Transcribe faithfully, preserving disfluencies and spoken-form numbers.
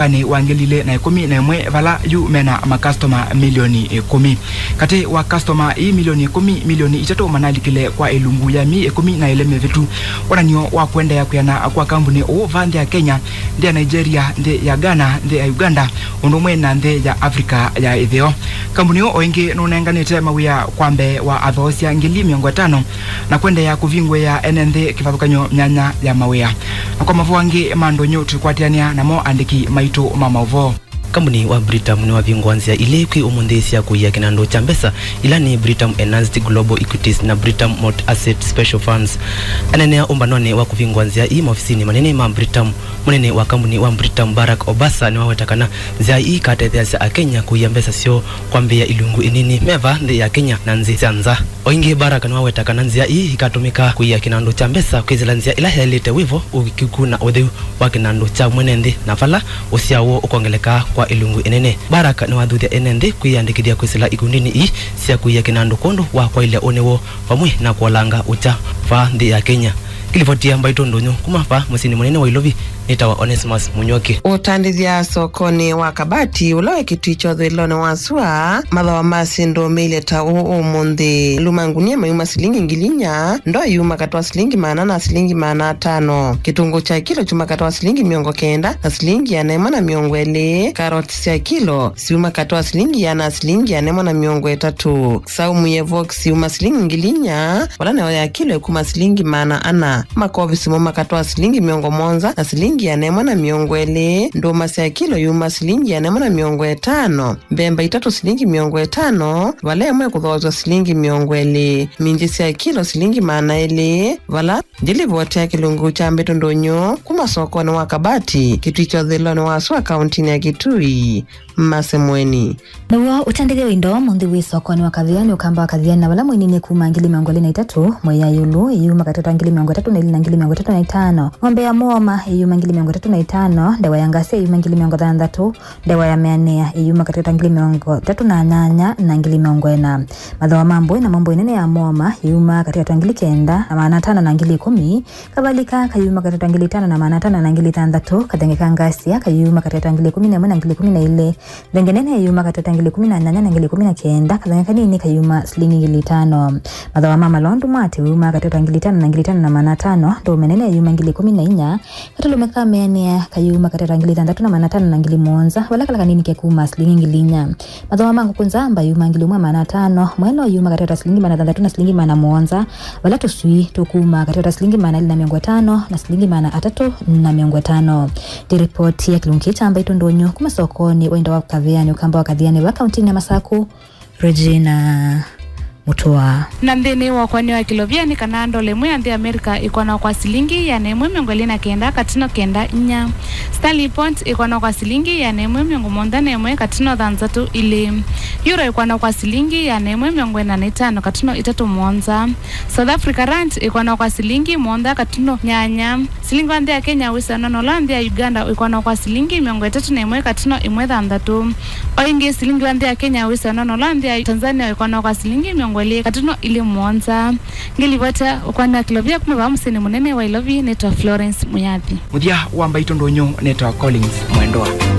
Mwakanĩ wa ngili ilĩ na ĩkũmi na ĩmwe, vala yu mena makastoma milioni ĩkũmi. Katĩ wa kastoma ii milioni ĩkũmi, milioni itatũ manalikile kwa ĩlungu ya myei ĩkũmi na ĩlĩ mĩvĩtu. Wonany'o wa kũendeea kwĩana kwa kambuni ũũ va nthĩ ya Kenya, nthĩ ya Nigeria, nthĩ ya Ghana, nthĩ ya Uganda, ũndũ ũmwe na nthĩ ya Africa ya ĩtheo. Kambuni ũũ o ĩngĩ nũnenganĩte mawĩa kwa mbee wa athoosya ngili mĩongo ĩtano na kũendeea kũvingũĩa ene nthĩ kĩvathũkany'o myanya ya mawĩa. Na kwa mavoo angĩ ma ndũnyũ tũikwatĩanĩa namo andĩki maitũ ma maũvoo. Kambuni wa Britam nĩwavingũa nzĩa ilĩ kwĩ ũmũnthĩ sya kũia kĩnandũ kya mbesa, ila nĩ Britam Enhanced Global Equities na Britam Multi-Asset Special Funds. Aneenea ũmbanonĩ wa kũvingũa nzĩa ii maovisinĩ manene ma Britam, mũnene wa kambuni wa Britam, Barack Obasa, nĩwaweta kana nzĩa ii ikatetheeasya Akenya kũia mbesa syoo kwambĩĩa ilungu ĩnini me vaa nthĩ ya Kenya na nthĩ sya nza. O ĩngĩ, Barack nĩwaweta kana nzĩa ii ikatũmĩka kũia kĩnandũ kya mbesa kwĩsĩla nzĩa ĩla yaĩlĩte, wĩvo, ũĩkĩĩku na ũtheu wa kĩnandũ kya mwene nthĩ, na vala ũsyao woo ũkongeleka kwa ĩlungu ĩnene. Barack nĩwathuthya ene nthĩ kwĩyĩandĩkĩthya kwĩsĩla ikundinĩ ii sya kũia kĩnandũ kwondũ wa kwaĩlya ũnĩ woo vamwe na kũolanga ũkya vaa nthĩ ya Kenya. Ngĩlivotia mbaitũ ndũnyũ kuma vaa mũsyĩnĩ mũnene wa Ilovi, nĩtawa Onesmus Mũnyoki. Ũtandĩthya sokonĩ wa Kabati, ũla wĩ Kĩtui kya ũthũĩlonĩ wa sua, mathooa ma syĩndũ meilye ta ũũ ũmũnthĩ. Maluu ma ngunia mayuma silingi ngili inya, ndoo yuma katĩ wa silingi maana na silingi maana atano, kĩtũngũũ kya kilo kyuma katĩ wa silingi mĩongo kenda na silingi ĩana ĩmwe na mĩongo ĩlĩ, karoti sya kilo syuma katĩ wa silingi ĩana na silingi ĩana ĩmwe na mĩongo ĩtatũ, saumu ye vox yuma silingi ngili inya, vala nayo ya kilo ĩkuma silingi maana ana, makovisi mo makatwa silingi mĩongo mũonza na silingi ĩana ĩmwe na mĩongo ĩlĩ, ndũma sya kilo yuma silingi ĩana ĩmwe na mĩongo ĩtano, mbemba itatũ silingi mĩongo ĩtano, vala ĩmwe ĩkũthooswa silingi mĩongo ĩlĩ, minji sya kilo silingi maana elĩ, vala ndĩlivoti ya kĩlungu kya mbĩtũ ndũnyũ kuma sokonĩ wa Kabati, Kĩtui kya ũthũĩlonĩ wa sua, kauntinĩ ya Kĩtui. Masemweni. Naw'o ũtandĩthya wa indo mũnthĩ wĩ sokonĩ wa Kathiani, ũkamba wa Kathiani, na vala mwĩnini kuma ngili mĩongo ĩlĩ na itatũ, mwei ya ĩũlũ, ĩyuma katĩ wa ngili mĩongo ĩtatũ na ilĩ na ngili mĩongo ĩtatũ na itano, ng'ombe ya mũoma ĩyuma ngili mĩongo ĩtatũ na itano, ndewa ya ngasia ĩyuma ngili mĩongo thanthatũ, ndewa ya mĩanĩa ĩyuma katĩ wa ngili mĩongo ĩtatũ na nyanya na ngili mĩongo ĩna. Mathooa ma mbũi namo mbũi nene ya mũoma ĩyuma katĩ wa ngili kenda na maana atano na ngili ĩkũmi, kavalika kayuma katĩ wa ngili itano na maana atano na ngili thanthatũ, kathenge ka ngasia kayuma katĩ wa ngili ĩkũmi na ĩmwe na ngili ĩkũmi na ilĩ, thenge nene yuma katĩ wa ngili ĩkũmi na nyanya na ngili ĩkũmi na kenda, kathenge kanini kayuma silingi ngili itano. Mathooa ma malondu mwatĩ wuma katĩ wa ngili itano na ngili itano na maana atano, ndũũme nene yuma ngili ĩkũmi na inya, katũlũme ka mĩanĩa kayuma katĩ wa ngili thanthatũ na maana atano na ngili mũonza, vala kala kanini kekuma silingi ngili inya. Mathooa ma ngũkũ nzamba yuma ngili ũmwe maana atano, mwelo yuma katĩ wa silingi maana thanthatũ na silingi maana mũonza, vala tũswii tũkuma katĩ wa silingi maana elĩ na mĩongo ĩtano na silingi maana atatũ na mĩongo ĩtano. Ndĩ ripoti ya kĩlungu kĩĩ kya mbaitũ ndũnyũ kuma sokonĩ wa indo wa Kathiani, ũkamba wa Kathiani va kauntinĩ ya Masaku, Regina Mutua. Na nthĩnĩ wa ũkwanĩo wa kĩlovia nĩ kana ndola ĩmwe ya nthĩ ya Amerika ĩkwanwa kwa silingi ĩana ĩmwe mĩongo ĩlĩ na kenda katino kenda inya. Stanley pound ĩkwanwa kwa silingi ĩana ĩmwe mĩongo mũonza na ĩmwe katino thanthatũ ilĩ. Euro ĩkwanwa kwa silingi ĩana ĩmwe mĩongo ĩna na itano katino itatũ mũonza. South Africa rand ĩkwanwa kwa silingi mũonza katino nyanya. Silingi wa nthĩ ya Kenya wĩsĩanwa na ũla wa nthĩ ya Uganda ũikwanwa kwa silingi mĩongo ĩtatũ na ĩmwe katino ĩmwe thanthatũ. O ĩngĩ, silingi wa nthĩ ya Kenya wĩsĩanwa na ũla wa nthĩ ya Tanzania ũikwanwa kwa silingi mĩongo ĩlĩ katino ilĩ mũonza. Ngĩlivota ũkwani wa kĩlovia kuma vaa mũsyĩnĩ mũnene wa Ilovi, nĩtawa Florence Muyathi. Mũthya wa mbaitũ ndũnyũ, nĩtawa Collins Mwendwa.